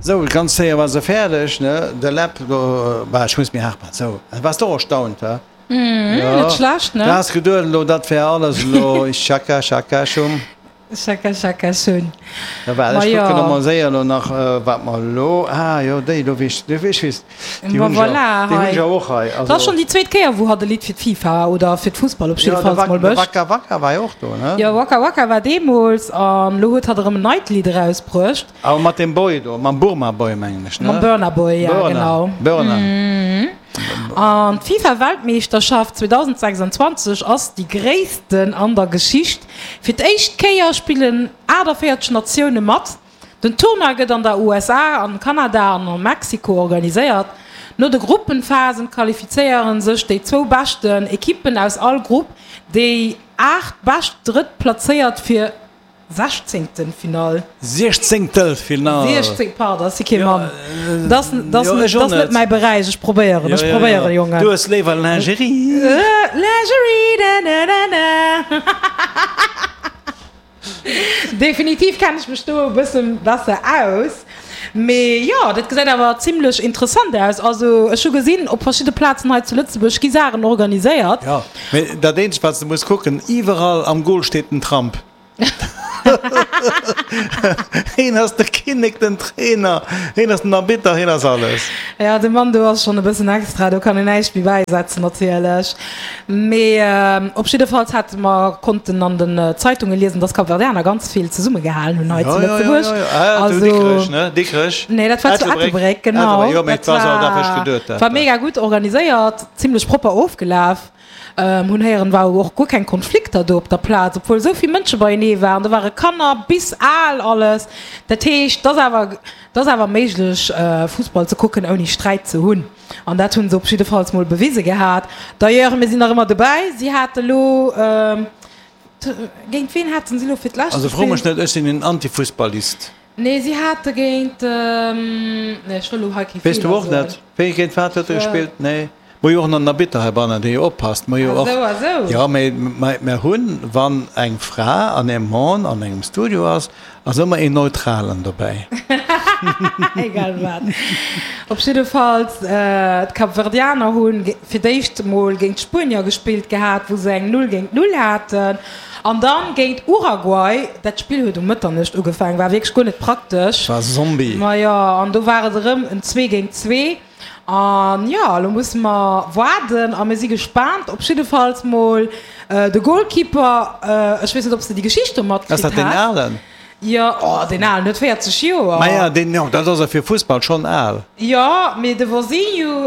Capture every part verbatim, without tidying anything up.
Sou, ganz séier war se fäerdeg, ne? De Läpp do, bah, ech muss méi haart maachen. Sou, waars de och erstaunt, he? Mhm, net schlecht, ne? Du has geduet elo, dat wär alles elo Schaka, Schaka, Schum. Schaka, Schaka, Schum. Da waart, ech kucken emol séier elo nach, wat mer elo, ah jo, déi do, wéi ech weess, déi hunn ech jo, déi hunn ech jo och hei. Dat ass schonn déi zweet Kéier, wou hatt e Lidd fir d'FIFA oder fir d'Fussball op jiddefalls mol mécht. Jo, de Waka Waka war jo och do, ne? Jo, Waka Waka war deemools an elo huet hatt erëm en neit Lidd erausbruecht. Awer mat deem Boy do, mam Burma Boy, mengen ech, ne? Mam Burna Boy, ja, genau. Burna. An d'FIFA-Weltmeeschterschaft zweedausendsechsundzwanzeg ass déi gréissten an der Geschicht. Fir d'éischt Kéier spillen aachtavéierzeg Natioune mat. Den Tournoi gëtt an der U S A, an Kanada an a Mexiko organiséiert. No de Gruppenphasen qualifizéiere sech déi zwou beschten Ekippen aus all Grupp, déi aacht bescht Drëttplazéiert fir Sechzéngtelfinall. Siechzéngtelfinall. Siechzéng, pardon, ech si kee Mann. Dat ass net mäi Beräich. Ech probéieren, ech probéieren, Jongen. Du hues léiwer Lingerie. Lingerie, na na na na. Definitiv kennen ech mech do e bësse besser aus. Mee jo, dat gesäit awer zimlech interessant aus. Also ech hu gesinn, op verschidde Plazen hei zu Lëtzebuerg gi Saachen organiséiert. Jo, mee dat eenzegt, wat s de muss kucken, iwwerall am Goal steet den Trump. Heen ass de Kinnek, den Trainer, heen ass den Arbitter, heen ass alles. Jo, de Mann do ass schonn e bëssen extra, do kann een näischt méi bäisetzen natierlech. Mee op jiddefalls hate mer konnten an den Zeitunge liesen, dass Kapverdianer ganz vill zesummegehalen hunn hei zu Lëtzebuerg. Jo, jo, jo, jo, zu Dikrech, ne? Dikrech? Nee, dat war zu Ettelbréck, genau. Jo, mee et war esou, dat hu ech geduet, dat. War mega gutt organiséiert, zimmlech propper ofgelaf. Hunn héieren, war och guer keng Konflikter do op der Plaz, obwuel esou vill Mënsche beienee waren. Do ware Kanner bis al, alles. Dat heescht, et ass awer, et ass awer méiglech Fussball ze kucken ouni Sträit ze hunn. An dat hu se op jiddefalls mol bewise gehat. D'ailleurs, mir sinn nach ëmmer dobäi, si hate lo, géint ween haten si lo fir d'lescht Also fro mech gespillt? net, ech sinn en Antifussballist. Nee, si hate géint, nee, ech wëll lo hei kee Weess du Feeler och soen. net? Wéi, géint wat huet e gespillt? Nee. Mer hu jo och en Arbitter heibannen, dee jo oppasst. Mer hu jo Ah och, sou, ah sou. jo, mee mer hunn, wann eng Fra an e Mann an engem Studio ass, ass ëmmer een Neutralen dobäi. Egal wat. Op jiddefalls, d'Kapverdianer hu fir d'éischt emol géint d'Spuenier gespillt gehat, wou se eng Null géint Null haten. An dann géint Uruguay. Dat Spill huet um Mëtternuecht ugefaangen, war wierklech guer net praktesch. War Zombie. Majo, an do war et erëm en zwee géint zwee. An jo, elo musse mer waarden a mir si gespaant. Op jiddefalls mol de Goalkeeper, ech weess net, ob s de déi Geschicht do Ass matkritt dat deen has. Alen? Jo, oh, deen Alen huet véierzeg Joer. Maja, deen, jo, dat ass e fir Fussball schonn al. Jo, mee de Vozinho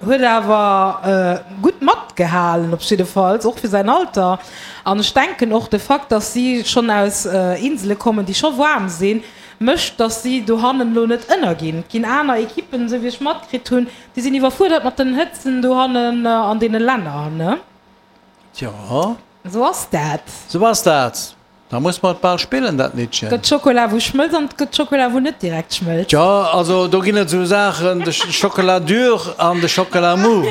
huet awer gutt matgehalen, op jiddefalls, och fir säin Alter. An ech denken och de Fakt, dass si schonn aus Insele kommen, déi scho waarm sinn, mécht, dass si dohannen elo net ënnerginn. Et ginn aner Ekippen, esou wéi ech matkritt hunn, déi sinn iwwerfuerdert mat den Hëtzen dohannen an deene Länner, ne? Tjo. Esou ass dat. Esou ass dat. Da muss mer et bal spillen, dat Liddchen. Et gëtt Schokola wou schmëlzt an et gëtt Schokola wou net direkt schmëlzt. Tjo, also do ginn et esou Saachen, de Chocolat dur an de Chocolat mou.